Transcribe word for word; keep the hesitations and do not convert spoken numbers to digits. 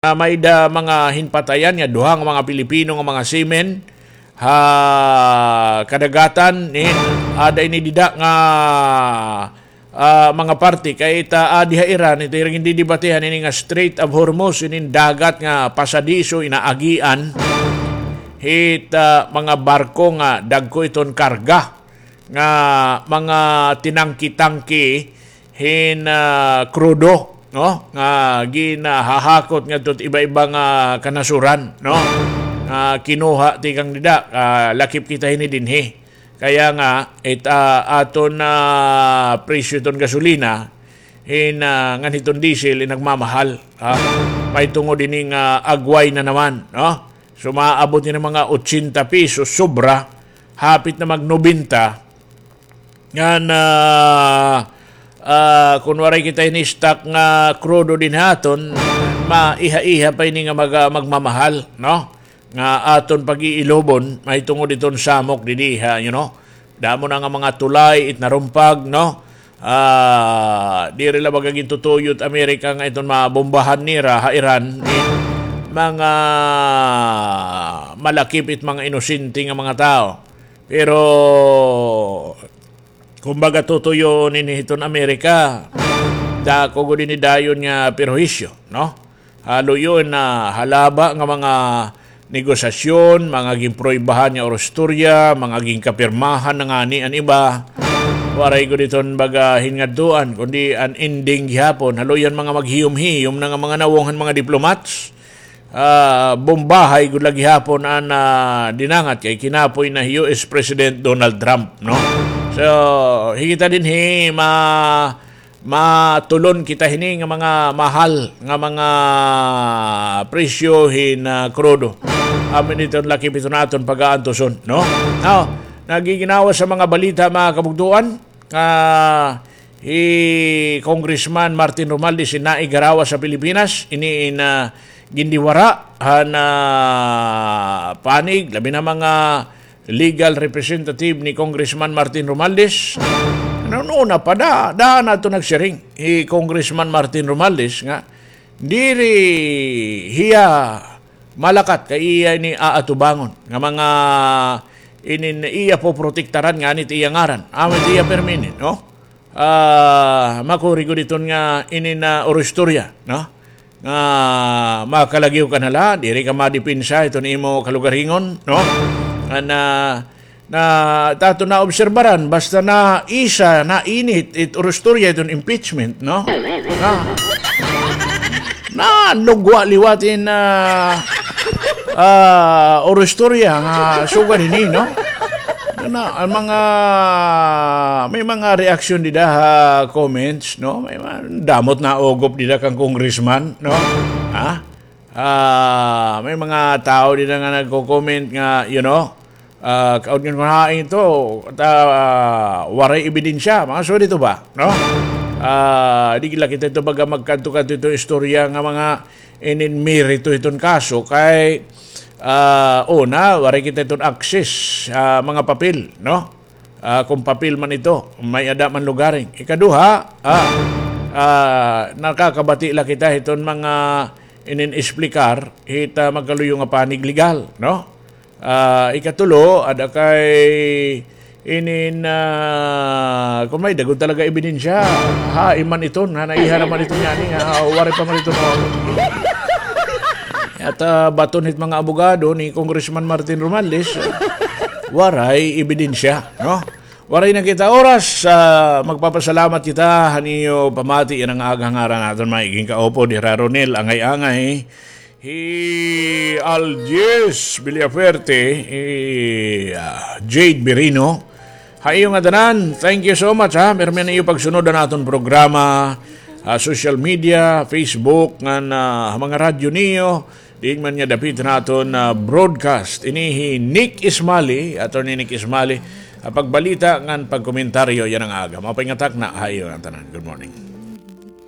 nga may-ada mga hinpatayan nga duha nga mga Pilipino nga mga seamen ha kadagatan, nin, ada ini dida nga, ah, mga parte kay it, ah, adi ha Iran, ito ira gindidebatehan ini nga Strait of Hormuz, inin dagat nga pasadiso, inaagian hit, ah, mga barko nga dagko iton karga nga mga tinangki-tangki hin, ah, krudo, no? Nga ginahahakot ngadto hit iba-iba nga kanasuran, no? Nga kinuha tikang dida, ah, lakip kita hini dinhi. Kaya nga, it, ah, aton, ah, presyo iton gasolina, hin, ah, ngan hiton diesel, in nagmamahal, ha? Mahitungod ini nga agway na naman, no? So, maabot ini mga ochenta pesos, sobra, hapit na mag-nobenta. Ngan, ah, ah, kun waray kita ini stock nga krudo dinhi ha aton, maiha-iha pa ini nga mag-, ah, magmamahal, no? Nga aton pag-iilubon, mahitungod iton samok didi ha, you know? Damo na nga mga tulay it narumpag, no? Ah, diri la baga gintutuyo it Amerika nga iton mabombahan nira ha Iran, eh, mga malakip it mga inosente nga mga tawo. Pero, kumbaga, tutuyoon ini hiton Amerika, dako gud ini dayon nga perwisyo, no? Ha luyo na halaba nga mga negosasyon, mga ginpruwaybahan nga orostorya, mga ginkapirmahan na ngani an iba. Waray gud iton baga hinngadtuan, kundi an ending gihapon, ha luyo han mga maghiyom-hiyom na nga mga nawong han mga diplomats. Ah, bombahay gud la gihapon an, ah, dinangat kay kinapoy na hi U S President Donald Trump, no? So, hi kita dinhi ma-, matulon kita hini nga mga mahal nga mga presyo hin, ah, krudo. Amin iton lakip iton aton pag-aantuson, no? Now, nagiginawa sa mga balita, mga kabugtuan, ah, hi Congressman Martin Romualdez in naigarawa sa Pilipinas, ini in, ah, gindiwara han, ah, panig, labi na mga legal representative ni Congressman Martin Romualdez. Ano, una pa, da, da na ito nagsiring hi Congressman Martin Romualdez nga diri hiya malakat kay iya ini aatubangon nga mga inin iya poprotektaran ngani it iya ngaran. Amo it iya permi ini, no? Ah, makuri gud iton nga inin, ah, orostorya, no? Nga makalagiw ka na la, diri ka madepensa iton imo kalugaringon, no? Ngan, ah, na, ta aton naobserbaran, basta na isa, nainit, it orostorya iton impeachment, no? Na, nanugwa liwat in, ah, ah, orostorya nga sugad hini, no? Na, an mga, may mga reaksyon dida ha comments, no? May mga, damo it naugop dida kan congressman, no? Ha? Ah, may mga tawo dida nga nagko-comment nga, you know, ah, kaon nga hain ito, ta, ah, waray ebidensya, mga sugad hito ba, no? Ah, di la kita ito baga magkadto-kadto ito istorya nga mga inin merito hiton kaso kay, ah, una, waray kita iton access, ah, mga papel, no? Ah, kon papel man ito, may-ada man lugaring. Ikaduha, ah, ah, nakakabati la kita hiton mga inin-esplikar hit, ah, magkaluyo nga panig legal, no? Ah, ikatulo, ada kay inin, ah, kon may-ada gud talaga ebidensya, hain man iton, ha, naiha naman iton ngani, ha, waray pa man iton, no? At, ah, baton hit mga abogado ni Congressman Martin Romualdez, waray ebidensya, no? Waray na kita oras, ah, magpapasalamat kita han iyo pamati yana nga aga, ha ngaran han aton mga iging kaupod, Hira Ronel Angay-angay, hi Algiers Villafuerte, hi, ah, Jade Birino. Ha iyo ngatanan, thank you so much, ha. Pirmi an iyo pagsunod han aton programa, ah, social media, Facebook, ngan, ah, ha mga radyo niyo. Diin man niyo dapit an aton, ah, broadcast. Ini hi Nick Ismali, Attorney Nick Ismali, ha pagbalita ngan pagkomentaryo yana nga aga. Maupay nga takna ha iyo ngatanan. Good morning.